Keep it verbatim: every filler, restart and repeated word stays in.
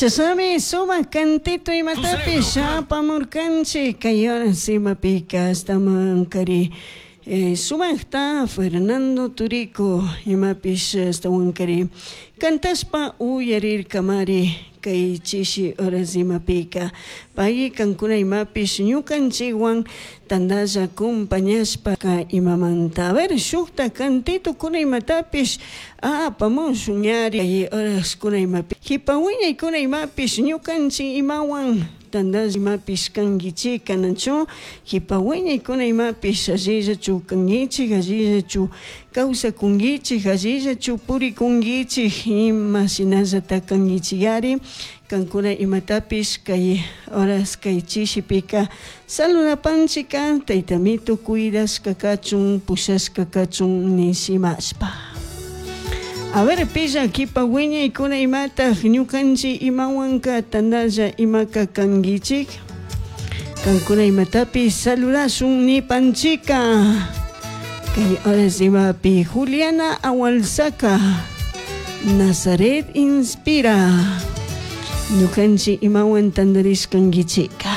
Chashnami sumak cantito imatapish apamurkanchik kay horas imapika ashtawankari eh, sumakta Fernando Turico imapish ashtawankari cantashpa uyarirkamari kay chishi horas imapika pay kankuna imapish ñukanchikwan tandalla compañashpa imamanta. A ver, shukta cantito kuna imatapish apamushun ñari kay horaskuna imapi jipa wiñaykuna imapish ñukanchik imawan tandalla imapish kankichik kanachu jipa wiñaykuna imapish allillachu kankichik, allillachu kawsakunkichik, allillachu purikunkichik, ima shinallata kankichikari kankuna imatapish kay horas kay chishipika saludapanchika taytamito cuidashka kachun pushashka kachun nishimashpa. A ver, pilla kipa wiñaykuna imataq ñukanchik imawanka tandalla imaka kankichik kankuna imatapish saludashun nipanchika kay horas imapi Juliana Awalsaka Nazaret inspira ñukanchik imawan tandarishkankichika.